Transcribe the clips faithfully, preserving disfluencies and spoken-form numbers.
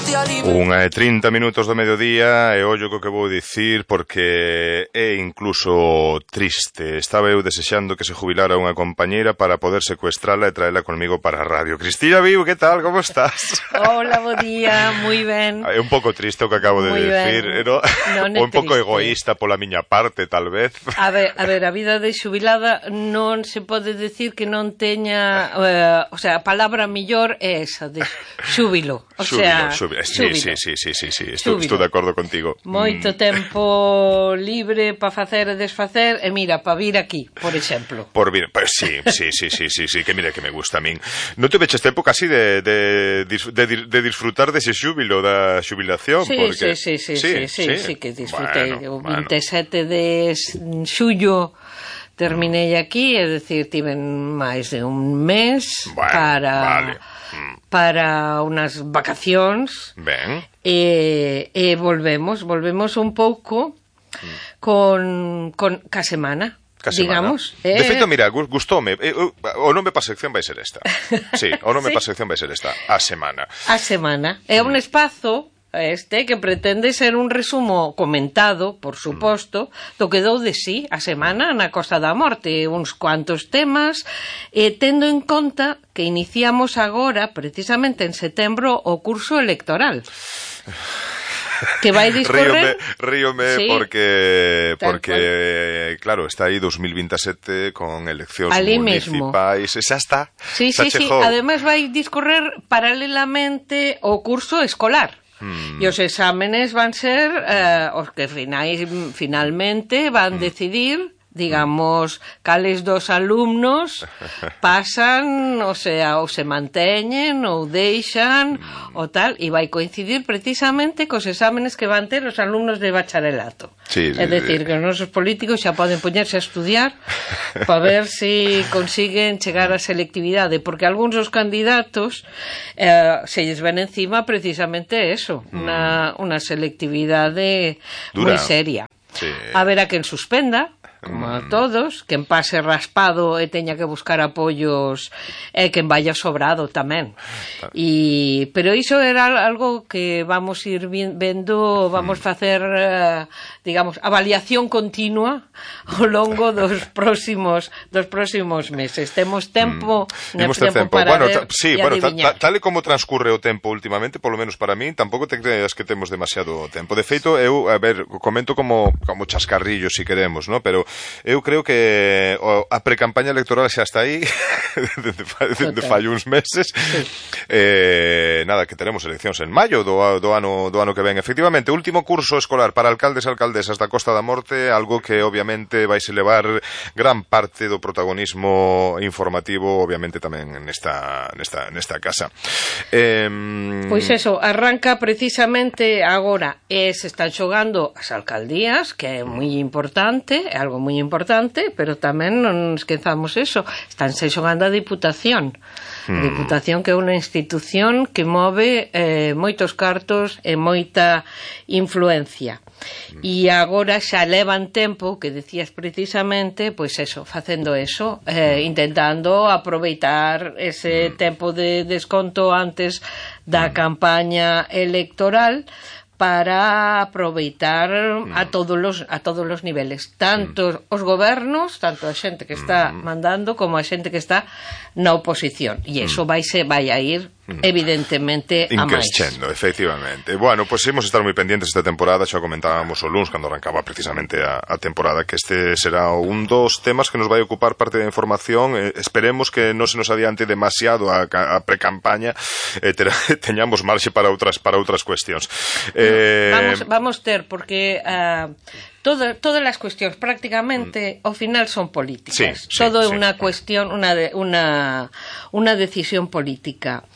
día libre. Unha e trinta minutos do mediodía e ollo co que vou dicir porque é incluso triste. Estaba eu desexando que se jubilara unha compañeira para poder secuestrala e traela conmigo para a radio. Cristina Viu, que tal? Como estás? Hola, bo día, moi ben. É un pouco triste o que acabo de Muy decir, ben. ¿no? Non é O un pouco triste. egoísta pola miña parte, tal vez. A ver, a ver, a vida de xubilada non se pode decir que non teña, eh, o sea, a palabra millor é esa, de xúbilo. O sea, xúbilo, xúbilo. Sí, xúbilo. sí, sí, sí, sí, sí. Estou, Xúbilo. estou de acordo contigo. Moito tempo libre para facer e desfacer, e mira, para vir aquí, por exemplo. Por vir, pues sí, sí, sí, sí, sí, sí, que mira que me gusta a min. Non te veches tempo casi de, de, de, de disfrutar dese xúbilo, da xubilación, Sí, porque... sí, sí, sí, sí, sí, sí, sí que disfrutei. Bueno, O veintisiete bueno. de xullo terminei aquí, é dicir, tiven máis de un mes Bueno, para vale. Mm. para unas vacacións Ben. e, e volvemos, volvemos un pouco con, con ca semana. Ca semana. Digamos, De eh... feito, mira, gustoume. Eh, o nome pa sección vai ser esta. Sí, o nome Sí. pa sección vai ser esta. A semana. A semana. É un espazo este que pretende ser un resumo comentado, por suposto, do que dou de sí a semana na Costa da Morte, uns cuantos temas, e tendo en conta que iniciamos agora, precisamente en setembro, o curso electoral. Que vai discorrer... Ríome, ríome Sí. porque, Tal porque claro, está aí dos mil veintisiete con eleccións Ali mesmo. municipais. Xa está. Sí, xa sí, sí. chegou. Ademais vai discorrer paralelamente o curso escolar. Hmm. E os exámenes van ser eh, os que finais, finalmente van Hmm. decidir, digamos, cales dos alumnos pasan, o sea, ou se manteñen ou deixan Hmm. o tal, e vai coincidir precisamente cos exámenes que van ter os alumnos de bacharelato. Sí, sí, É dicir, sí. que os nosos políticos xa poden poñerse a estudiar para ver se si consiguen chegar á selectividade, porque algúns dos candidatos eh, se lles ven encima precisamente eso, Mm. unha, unha selectividade Dura. moi seria. Sí. A ver a quen suspenda, como a todos, quen pase raspado e teña que buscar apoios e quen vaya sobrado tamén. E, pero iso era algo que vamos ir vi- vendo, vamos facer, eh, digamos, avaliación continua ao longo dos próximos dos próximos meses. Temos tempo, Mm. Imos ter tempo. para Bueno, ver ta, sí, e bueno, ta, adiviñar. ta, tal e como transcurre o tempo últimamente, polo menos para min, tampouco te creas que temos demasiado tempo. De feito, eu, a ver, comento como como chascarrillo, si queremos, ¿no? Pero eu creo que o, a precampaña electoral xa está aí desde fai, de fai uns meses. Sí. Eh, nada, que teremos eleccións en maio do, do ano do ano que ven. Efectivamente, último curso escolar para alcaldes e alcaldesas da Costa da Morte, algo que obviamente vai se levar gran parte do protagonismo informativo, obviamente tamén nesta nesta nesta casa. Eh, Pois eso, arranca precisamente agora e se están xogando as alcaldías, que é moi importante, é algo moi importante, pero tamén non esquezamos eso, estánse xogando a Diputación. A Diputación que é unha institución que move eh, moitos cartos e moita influencia. E agora xa levan tempo, que decías precisamente, pois eso, facendo eso, eh, intentando aproveitar ese tempo de desconto antes da campaña electoral para aproveitar a todos los a todos los niveles, tanto os gobernos, tanto a xente que está mandando como a xente que está na oposición. E iso vai se vai a ir evidentemente a máis. Increscendo, efectivamente. Bueno, pois pues, imos estar moi pendientes esta temporada, xa comentábamos o luns cando arrancaba precisamente a, a temporada, que este será un dos temas que nos vai ocupar parte da información. Eh, esperemos que non se nos adiante demasiado a, a precampaña, eh, ter, teñamos marxe para outras para outras cuestións. Eh, Vamos vamos ter porque uh, Todo, todas as cuestións prácticamente ao final son políticas. Sí, sí, todo é sí. unha cuestión, unha de, unha unha decisión política.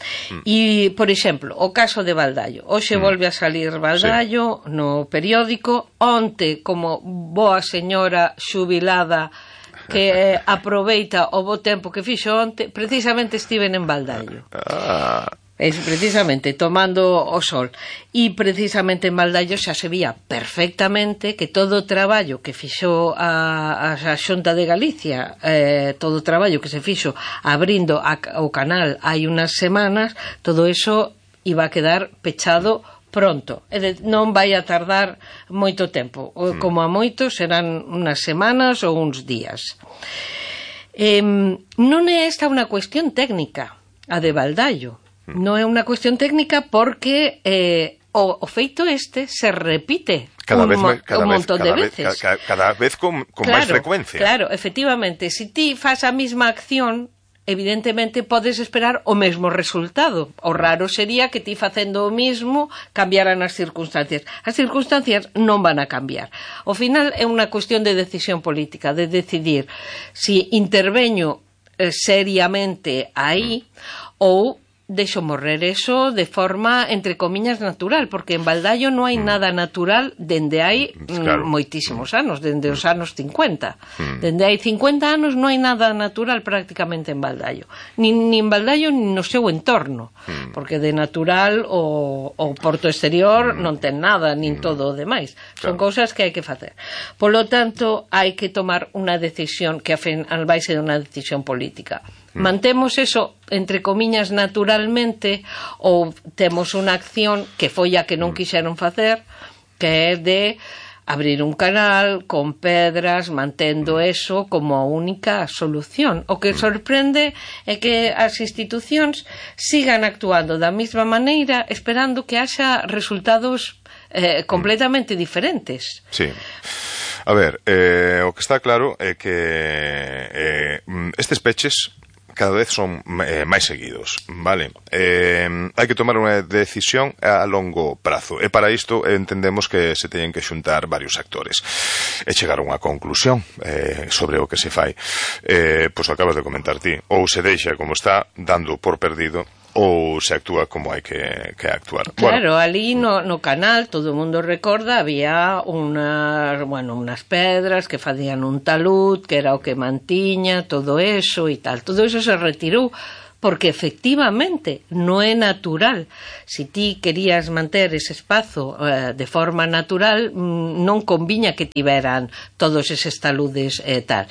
E, por exemplo, o caso de Baldallo. Hoxe mm. volve a salir Baldallo sí. no periódico. Onte, como boa señora xubilada que eh, aproveita o bo tempo que fixo onte, precisamente estiven en Baldallo. Ah... Es precisamente tomando o sol. E precisamente en Baldallo xa se vía perfectamente que todo o traballo que fixo a, a Xunta de Galicia, eh, todo o traballo que se fixo abrindo a, o canal hai unas semanas, todo eso e va a quedar pechado pronto, e de, non vai a tardar moito tempo, mm. como a moito serán unhas semanas ou uns días. Eh, non é esta unha cuestión técnica, a de Baldaio, mm. non é unha cuestión técnica porque eh, o, o feito este se repite cada un, vez, cada un montón vez, cada de veces. Vez, cada, cada vez con, con claro, máis frecuencia. Claro, efectivamente, se ti fas a mesma acción, evidentemente podes esperar o mesmo resultado. O raro sería que ti facendo o mismo cambiaran as circunstancias. As circunstancias non van a cambiar. Ao final é unha cuestión de decisión política, de decidir si interveño eh, seriamente aí ou deixo morrer eso de forma, entre comiñas, natural, porque en Baldaio non hai nada natural dende hai claro. moitísimos anos, dende os anos cincuenta. Dende hai cincuenta anos non hai nada natural prácticamente en Baldaio. Nin, nin Baldaio, nin no seu entorno, porque de natural o, o Porto Exterior non ten nada, nin todo o demais. Son claro. cousas que hai que facer. Polo tanto, hai que tomar unha decisión que al vai ser unha decisión política. Mantemos eso, entre comiñas, naturalmente, ou temos unha acción que foi a que non quixeron facer, que é de abrir un canal con pedras, mantendo eso como a única solución. O que sorprende é que as institucións sigan actuando da mesma maneira, esperando que haxa resultados eh, completamente diferentes. Sí. A ver, eh, o que está claro é que eh, estes peches cada vez son eh, máis seguidos, vale? Eh, hai que tomar unha decisión a longo prazo, e para isto entendemos que se teñen que xuntar varios actores e chegar a unha conclusión eh, sobre o que se fai. Eh, pois acabas de comentar ti, ou se deixa como está, dando por perdido, ou se actúa como hai que, que actuar. Claro, bueno, ali no, no canal, todo o mundo recorda, había unas, bueno, unas pedras que facían un talud, que era o que mantiña todo eso e tal. Todo eso se retirou porque efectivamente non é natural. Se ti querías manter ese espazo eh, de forma natural, non conviña que tiveran todos eses taludes e eh, tal.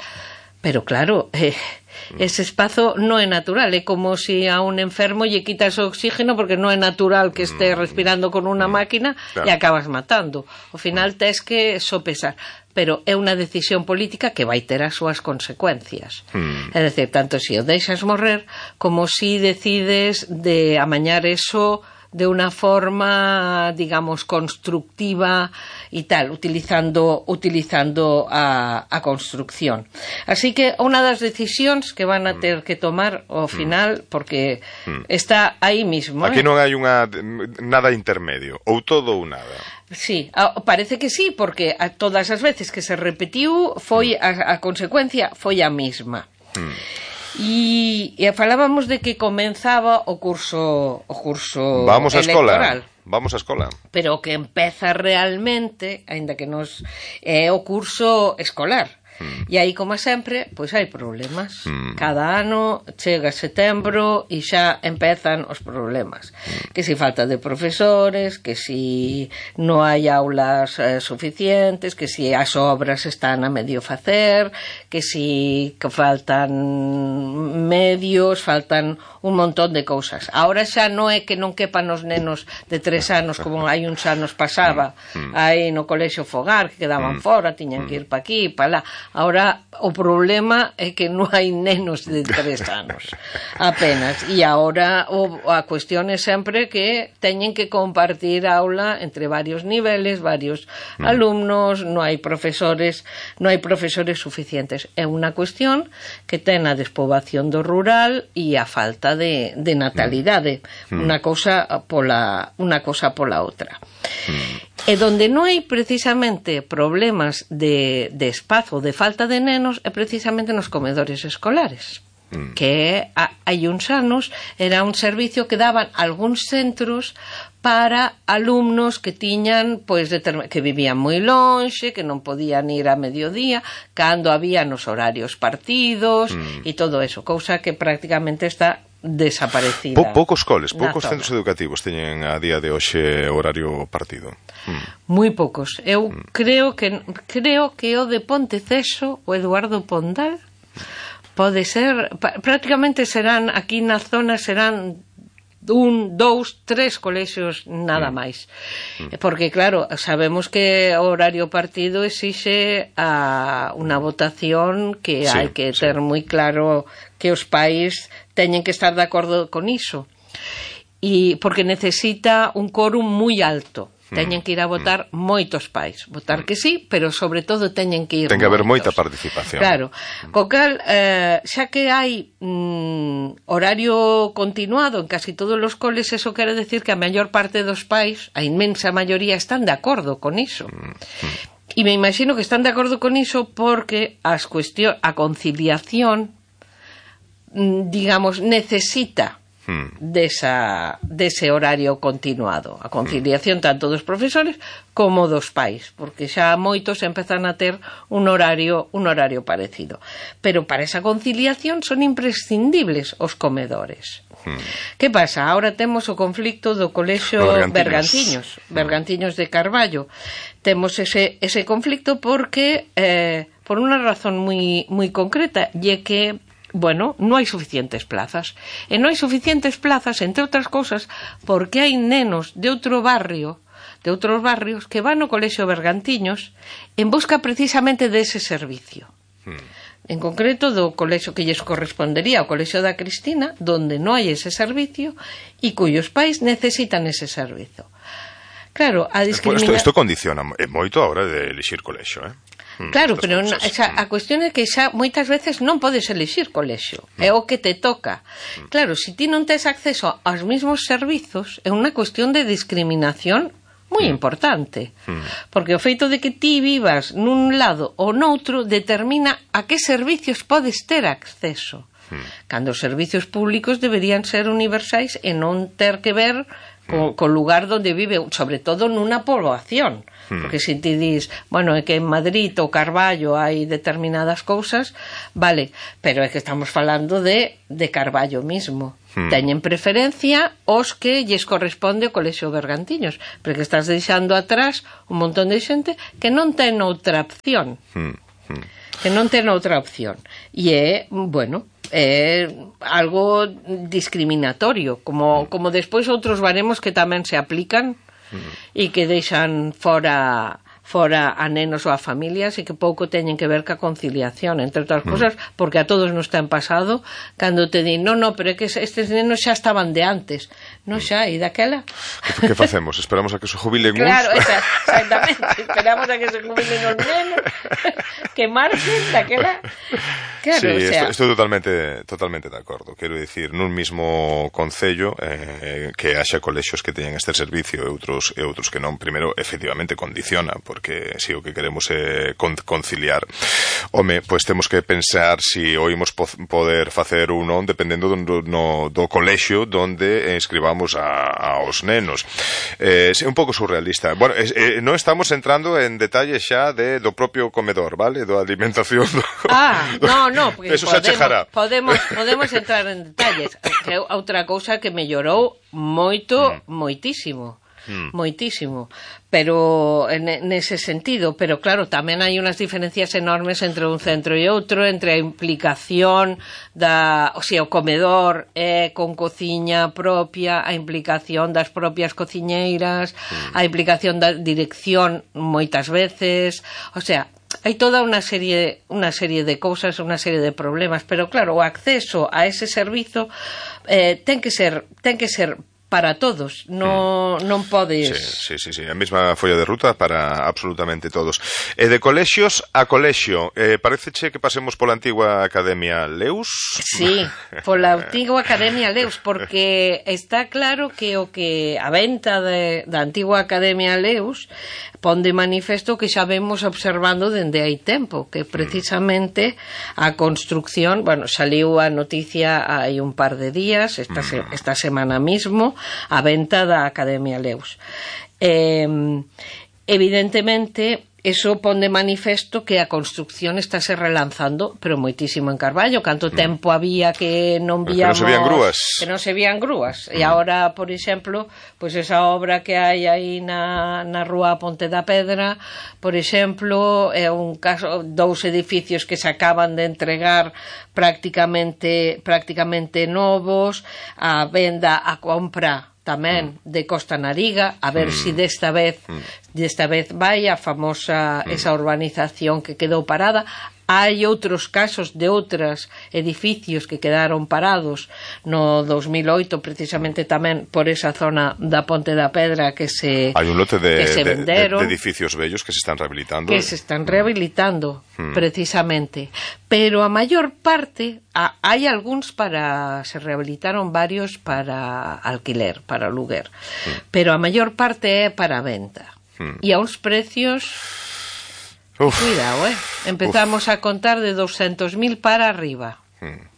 Pero claro, eh, ese espazo non é natural, é como se a un enfermo lle quitas o oxígeno porque non é natural que este respirando con unha máquina, claro. E acabas matando. Ao final tes que sopesar, pero é unha decisión política que vai ter as súas consecuencias. Mm. É dicir, tanto se o deixas morrer como se decides de amañar eso de unha forma, digamos, constructiva e tal, utilizando utilizando a, a construcción. Así que unha das decisións que van a ter que tomar ao final, porque está aí mismo. Aquí eh? non hai unha nada intermedio, ou todo ou nada. Sí, parece que sí, porque a todas as veces que se repetiu foi a, a consecuencia foi a mesma. Mm. E, e falábamos de que comenzaba o curso o curso Vamos a electoral. Escola. Vamos a escola. Pero o que empeza realmente, aínda que nos é o curso escolar. Mm. E aí, como sempre, pois hai problemas. Mm. Cada ano chega setembro e xa empezan os problemas. Mm. Que si falta de profesores, que si non hai aulas eh, suficientes, que si as obras están a medio facer, que si que faltan medios, faltan un montón de cousas. Ahora xa non é que non quepan os nenos de tres anos como hai uns anos pasaba, mm. aí no colexio Fogar, que quedaban mm. fora, tiñan que ir pa aquí, pa lá. Ahora o problema é que non hai nenos de tres anos apenas, e agora o, a cuestión é sempre que teñen que compartir aula entre varios niveles, varios mm. alumnos, non hai profesores non hai profesores suficientes. É unha cuestión que ten a despoboación do rural e a falta de, de natalidade, mm. unha cousa pola unha cousa pola outra. Mm. E donde non hai precisamente problemas de, de espazo, de falta de nenos, é precisamente nos comedores escolares. Mm. Que hai uns anos era un servicio que daban algúns centros para alumnos que tiñan, pois, que vivían moi lonxe, que non podían ir a mediodía, cando había nos horarios partidos mm. e todo eso, cousa que prácticamente está desaparecida. Po, poucos coles, poucos centros educativos teñen a día de hoxe horario partido. Mm. Moi poucos. Eu mm. creo que creo que o de Ponteceso, o Eduardo Pondal, pode ser, prácticamente serán aquí na zona serán un, dous, tres colexios nada mm. máis. Porque, claro, sabemos que o horario partido exixe a unha votación que sí, hai que ter sí. moi claro que os pais teñen que estar de acordo con iso. E porque necesita un quórum moi alto. Teñen que ir a votar mm. moitos pais. Votar que sí, pero sobre todo teñen que ir Ten que haber moitos. moita participación. Claro. Co cal, eh, xa que hai mm, horario continuado en casi todos os coles, eso quere decir que a maior parte dos pais, a inmensa maioría, están de acordo con iso. Mm. Mm. E me imagino que están de acordo con iso porque as cuestión, a conciliación, mm, digamos, necesita Desa, dese horario continuado, a conciliación tanto dos profesores como dos pais, porque xa moitos empezan a ter un horario un horario parecido, pero para esa conciliación son imprescindibles os comedores. Hmm. Que pasa? Ahora temos o conflicto do colexio Bergantiños, Bergantiños de Carballo. Temos ese, ese conflicto porque eh, por unha razón moi, moi concreta, e que bueno, non hai suficientes plazas. E non hai suficientes plazas, entre outras cousas, porque hai nenos de outro barrio, de outros barrios, que van ao colexio Bergantiños en busca precisamente dese servicio. Hmm. En concreto, do colexio que lles correspondería ao colexio da Cristina, donde non hai ese servicio e cuyos pais necesitan ese servizo. Claro, a discriminación... Isto, isto condiciona moito a hora de elixir colexio, eh? Claro, pero na, xa, a cuestión é que xa moitas veces non podes elixir colexio, é o que te toca. Claro, se ti non tes acceso aos mesmos servizos, é unha cuestión de discriminación moi importante, porque o feito de que ti vivas nun lado ou noutro determina a que servicios podes ter acceso, cando os servicios públicos deberían ser universais e non ter que ver co, co lugar onde vive, sobre todo nunha poboación. Porque se ti dis, bueno, é que en Madrid ou Carballo hai determinadas cousas, vale, pero é que estamos falando de, de Carballo mismo. Hmm. Teñen preferencia os que lles corresponde o colexio Bergantiños, porque estás deixando atrás un montón de xente que non ten outra opción. Hmm. Hmm. Que non ten outra opción. E é, bueno, é algo discriminatorio, como, como despois outros baremos que tamén se aplican e que deixan fora fora a nenos ou a familias e que pouco teñen que ver ca conciliación, entre outras cosas, porque a todos nos ten pasado cando te din, no, no, pero é que estes nenos xa estaban de antes. Non xa, e daquela? Que, que facemos? Esperamos a que se jubilen uns? Claro, esa, exactamente, esperamos a que se jubilen os nenos, que marchen daquela. Claro, sí, o sea... estou totalmente totalmente de acordo. Quero dicir, nun mismo concello eh, que haxa colexios que teñen este servicio e outros, e outros que non, primeiro, efectivamente, condiciona, porque se si o que queremos é conciliar, home, pois temos que pensar se si oímos po poder facer ou non dependendo do, no, do colexio donde inscribamos a, aos nenos. Eh, é un pouco surrealista. Bueno, eh, non estamos entrando en detalles xa de, do propio comedor, vale? Do alimentación. Do, ah, do, no, no, porque eso podemos, podemos, podemos entrar en detalles. Outra cousa que mellorou moito, mm. moitísimo. Mm. Moitísimo, pero nese sentido, pero claro, tamén hai unhas diferencias enormes entre un centro e outro, entre a implicación da, o sea, o comedor é con cociña propia, a implicación das propias cociñeiras, mm. a implicación da dirección moitas veces, o sea, hai toda unha serie unha serie de cousas, unha serie de problemas, pero claro, o acceso a ese servizo eh, ten que ser ten que ser para todos, non, mm. non podes... Sí, sí, sí, sí, a mesma folla de ruta para absolutamente todos. E de colexios a colexio, eh, pareceche que pasemos pola antigua Academia Leus? Sí, pola antigua Academia Leus, porque está claro que o que a venta de, da antigua Academia Leus pon de manifesto que xa vemos observando dende hai tempo, que precisamente a construcción, bueno, saliu a noticia hai un par de días, esta, se, esta semana mismo, a venta da Academia Leus. Eh, evidentemente, eso pon de manifesto que a construcción estáse relanzando, pero moitísimo en Carballo. Canto mm. tempo había que non víamos... Que non se vían grúas. Que non se vían grúas. Mm. E agora, por exemplo, pois pues esa obra que hai aí na, na rúa Ponte da Pedra, por exemplo, é un caso, dous edificios que se acaban de entregar prácticamente, prácticamente novos, a venda, a compra tamén de Costa Nariga, a ver mm. si desta vez desta vez vai a famosa mm. esa urbanización que quedou parada. Hai outros casos de outros edificios que quedaron parados no dos mil oito, precisamente tamén por esa zona da Ponte da Pedra que se Hai un lote de, que se venderon, de, de edificios bellos que se están rehabilitando. Que se están rehabilitando, mm. precisamente. Pero a maior parte, a, hai algúns para... se rehabilitaron varios para alquiler, para luguer. Mm. Pero a maior parte é para venta. Mm. E a uns precios... Uf. Cuidado, eh? Empezamos Uf. a contar de doscientos mil para arriba. Hmm.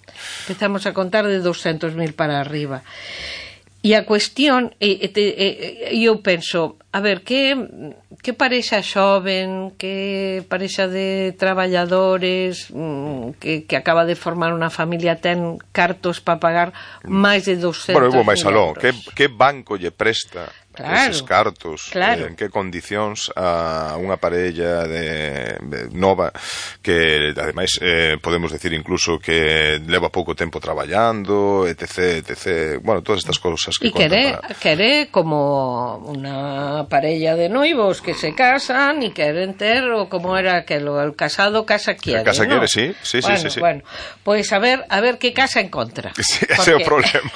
Empezamos a contar de doscientos mil para arriba. E a cuestión, e, e, e, eu penso, a ver, que, que parexa xoven, que parexa de traballadores, que, que acaba de formar unha familia, ten cartos para pagar máis de doscientos mil euros. Bueno, eu vou máis aló, que, que banco lle presta claro, eses cartos, claro. eh, en que condicións a unha parella de, de nova que ademais eh, podemos decir incluso que leva pouco tempo traballando, etc, etc, bueno, todas estas cousas que e quere, para... quere como unha parella de noivos que se casan e queren ter, o como era aquelo, el casado casa quiere, el casa ¿no? quiere, sí, sí, bueno, sí, sí, sí. Bueno, pois a ver, a ver que casa encontra. Sí, ese é o problema.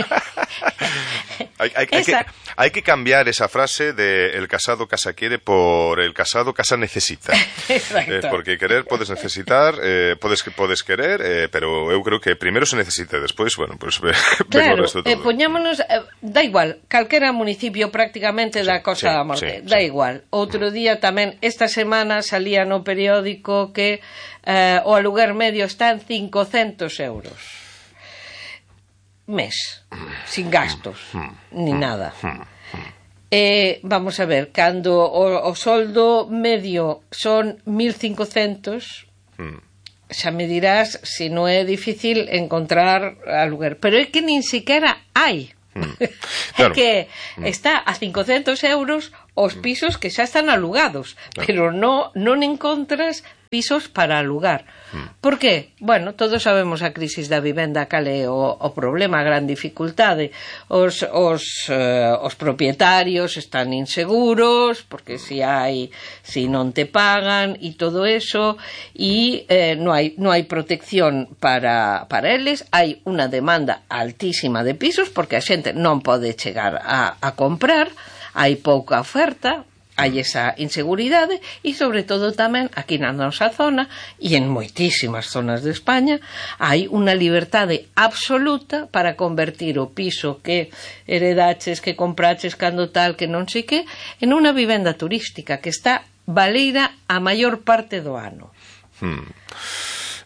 hai, hai, hai, que, hai que cambiar esa frase de el casado casa quiere por el casado casa necesita. Exacto. Eh, porque querer podes necesitar, eh, podes podes querer, eh, pero eu creo que primeiro se necesita, despois, bueno, pues claro, o resto todo. Eh, poñámonos, eh, da igual, calquera municipio prácticamente da Costa sí, da Morte, sí, da sí. igual. Outro día tamén, esta semana salía no periódico que eh, o aluguer medio está en cincocentos euros. Mes, sin gastos, ni nada. Eh, vamos a ver, cando o, o soldo medio son mil cincocentos, xa me dirás se non é difícil encontrar aluguer, pero é que nin siquiera hai. Claro. É que está a cincocentos euros os pisos que xa están alugados, claro. Pero no, non encontras pisos para alugar. Por qué? Bueno, todos sabemos a crisis da vivenda, cal é o, o problema, a gran dificultade. Os, os, eh, os propietarios están inseguros, porque si hai, si non te pagan, e todo eso, e eh, non hai, non hai protección para, para eles, hai unha demanda altísima de pisos, porque a xente non pode chegar a, a comprar, hai pouca oferta, hai esa inseguridade e, sobre todo, tamén aquí na nosa zona e en moitísimas zonas de España hai unha liberdade absoluta para convertir o piso que heredaches, que compraches cando tal, que non sei que, en unha vivenda turística que está baleira a maior parte do ano. Hmm.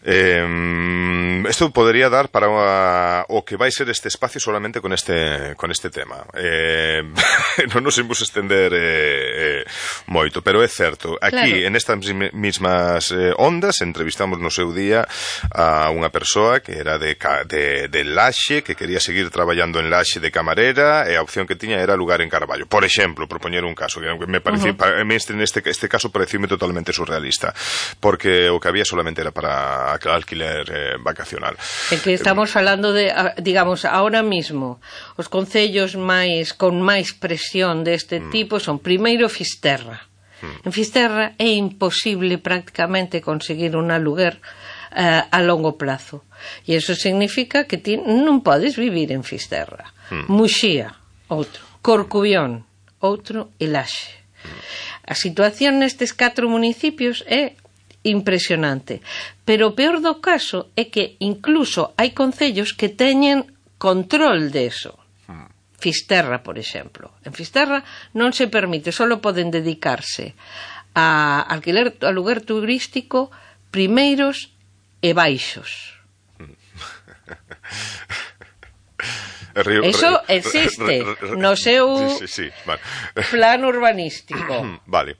Eh, esto podría dar para una, o que vai ser este espacio solamente con este con este tema. Eh, non nos imos estender eh, eh, moito, pero é certo. Aquí, claro. En estas mismas eh, ondas, entrevistamos no seu día a unha persoa que era de, de, de Laxe, que quería seguir traballando en Laxe de camarera, e a opción que tiña era lugar en Carballo. Por exemplo, propoñer un caso que me parecía, uh-huh. este, este, este caso pareceume totalmente surrealista, porque o que había solamente era para alquiler eh, vacacional. É que estamos falando de, digamos, ahora mismo, os concellos máis con máis presión deste mm. tipo son primeiro Fisterra. Mm. En Fisterra é imposible prácticamente conseguir un aluguer eh, a longo plazo. E iso significa que ti non podes vivir en Fisterra. Mm. Muxía, outro. Corcubión, outro. E Laxe. Mm. A situación nestes catro municipios é impresionante, pero o peor do caso é que incluso hai concellos que teñen control deso. Fisterra, por exemplo. En Fisterra non se permite, só poden dedicarse a alquiler, a aluguer turístico primeiros e baixos. Río, Eso existe re, re, re, no seu sí, sí, sí, vale. plan urbanístico. Vale.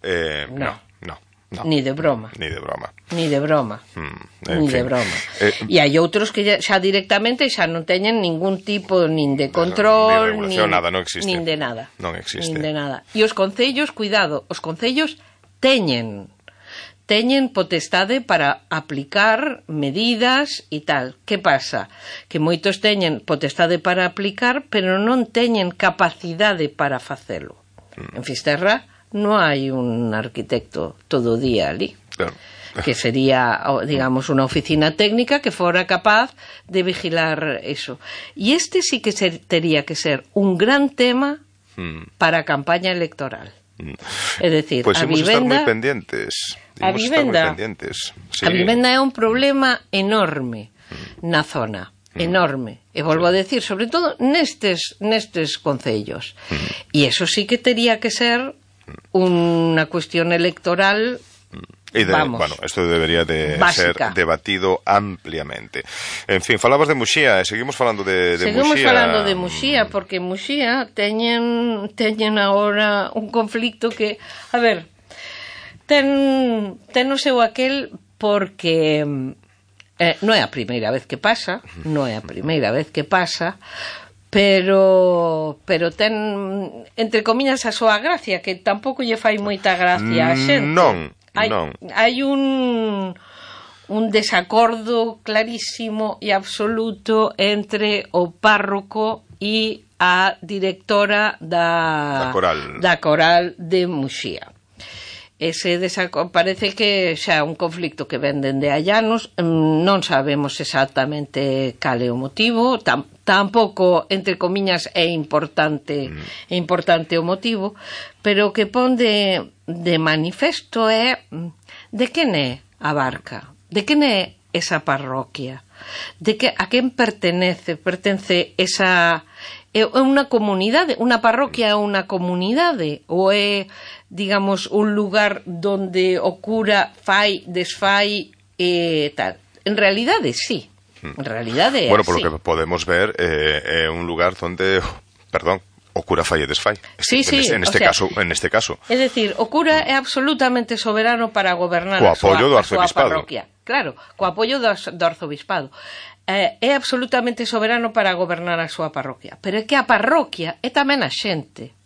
Eh, no. no. No, ni de broma. Ni de broma. Ni de broma. Mm, ni fin. de broma. Eh, e hai outros que xa, xa directamente xa non teñen ningún tipo nin de control, de nin, nada, non existe. nin de nada. Non existe. Nin de nada. E os concellos, cuidado, os concellos teñen teñen potestade para aplicar medidas e tal. Que pasa? Que moitos teñen potestade para aplicar, pero non teñen capacidade para facelo. Mm. En Fisterra non hai un arquitecto todo o día ali. Claro. Que sería, digamos, unha oficina técnica que fora capaz de vigilar eso. E este sí que ser, tería que ser un gran tema mm. para a campaña electoral. Mm. É dicir, pues a vivenda... vivenda... Pues moi pendientes. A vivenda, muy pendientes. Sí. A vivenda é un problema enorme mm. na zona. Enorme. E volvo a decir, sobre todo nestes, nestes concellos. Mm. E eso sí que tería que ser unha cuestión electoral, y de, vamos, bueno, esto debería de básica. ser debatido ampliamente. En fin, falabas de Muxía, e seguimos falando de, de seguimos Muxía. falando de Muxía, porque Muxía teñen, teñen agora un conflicto que, a ver, ten, ten o seu aquel porque eh, non é a primeira vez que pasa, non é a primeira vez que pasa, pero pero ten, entre comiñas, a súa gracia, que tampouco lle fai moita gracia a xente. Non, hai, non. Hai un un desacordo clarísimo e absoluto entre o párroco e a directora da, da coral. da coral de Muxía. Ese desacordo parece que xa é un conflicto que ven dende hai anos, non sabemos exactamente cal é o motivo, tam, tampouco, entre comiñas, é importante mm. é importante o motivo, pero o que pon de, de manifesto é de quen é a barca, de quen é esa parroquia, de que a quen pertenece, pertence esa... É unha comunidade, unha parroquia é unha comunidade, ou é, digamos, un lugar donde o cura fai, desfai e tal. En realidade, sí. En realidade é bueno, por así. lo que podemos ver, eh, é un lugar donde, perdón, o cura fai e desfai. Sí, sí, en este o sea, caso, en este caso. É dicir, o cura é absolutamente soberano para gobernar co a súa, apoio do a súa arzobispado. parroquia. Claro, co apoio do, do arzobispado. Eh, é absolutamente soberano para gobernar a súa parroquia. Pero é que a parroquia é tamén a xente.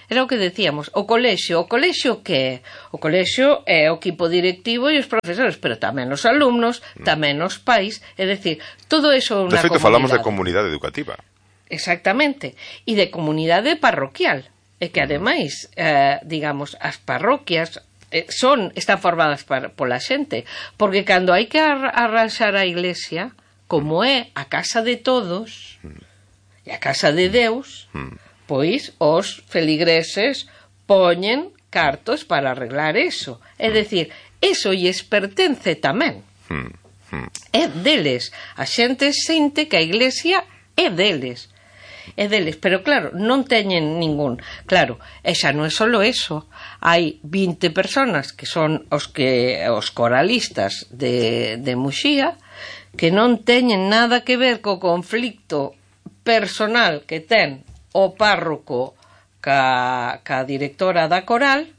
Era o que decíamos, o colexio. O colexio que é? O colexio é o equipo directivo e os profesores, pero tamén os alumnos, tamén os pais. É dicir, todo eso é unha comunidade. De feito, falamos de comunidade educativa. Exactamente. E de comunidade parroquial. E que, ademais, eh, digamos, as parroquias eh, son, están formadas para, pola xente. Porque cando hai que arranxar a iglesia, como é a casa de todos e a casa de Deus, pois os feligreses poñen cartos para arreglar eso. É dicir, eso lles pertence tamén. É deles. A xente sente que a iglesia é deles. É deles, pero claro, non teñen ningún. Claro, e xa non é solo eso. Hai vinte personas que son os que os coralistas de, de Muxía, que non teñen nada que ver co conflicto personal que ten o párroco ca, ca directora da coral,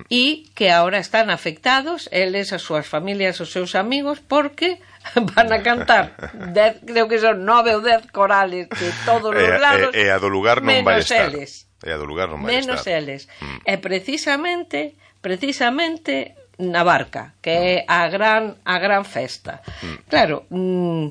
e que ahora están afectados, eles, as súas familias, os seus amigos, porque van a cantar dez, creo que son nove ou dez corales de todos os lados, e, e a do lugar non vai estar. Eles. E a do lugar non vai menos estar. eles. Mm. E precisamente, precisamente na barca, que é a gran a gran festa. Mm. Claro, mm,